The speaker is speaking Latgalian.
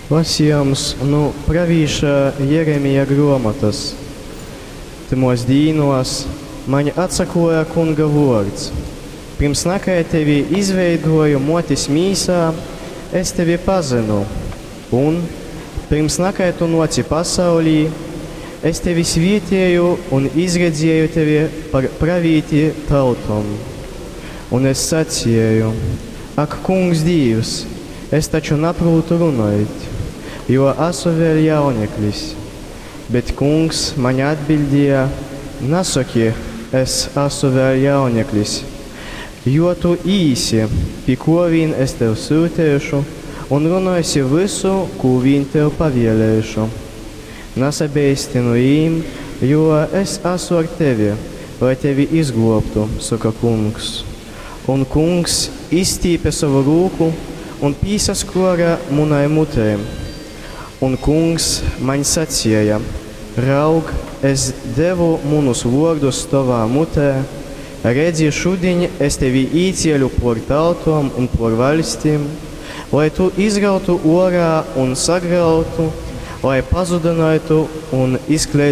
Lasījums nu pravīša Jeremija gruomotys. Tymuos dīnuos maņ atsakluoja Kunga vuords: Pyrms nakai tevi izveiduoju muotis mīsā, es tevi pazynu, un, pyrms nakai tu nuoci pasaulī, es tevi svietieju un izredzieju tevi par pravīti tautom. Un es sacieju: Ak, Kungs Dīvs, es taču naprūtu runuot, jo asu vēļ jauneklis. Bet Kungs maņ atbiļdieja: Nasoki, es asu vēļ jauneklis, jo tu īsi, pi kuo vīn es tev syuteišu, un runuosi vysu, kū vīn tev pavielēšu. Nasabeisti nu jīm, jo es asu ar tevi, lai tevi izgluobtu, soka Kungs. Un Kungs izstīpe sovu rūku un pīsaskuore munai mutei. Un Kungs maņ sacieja: Raug, es devu munus vuordus tovā mutē, redzi, šudiņ es tevi īcieļu puor tautom un puor vaļstim, lai tu izrautu uorā un sagrautu, lai pazudynuotu un izkleidynuotu.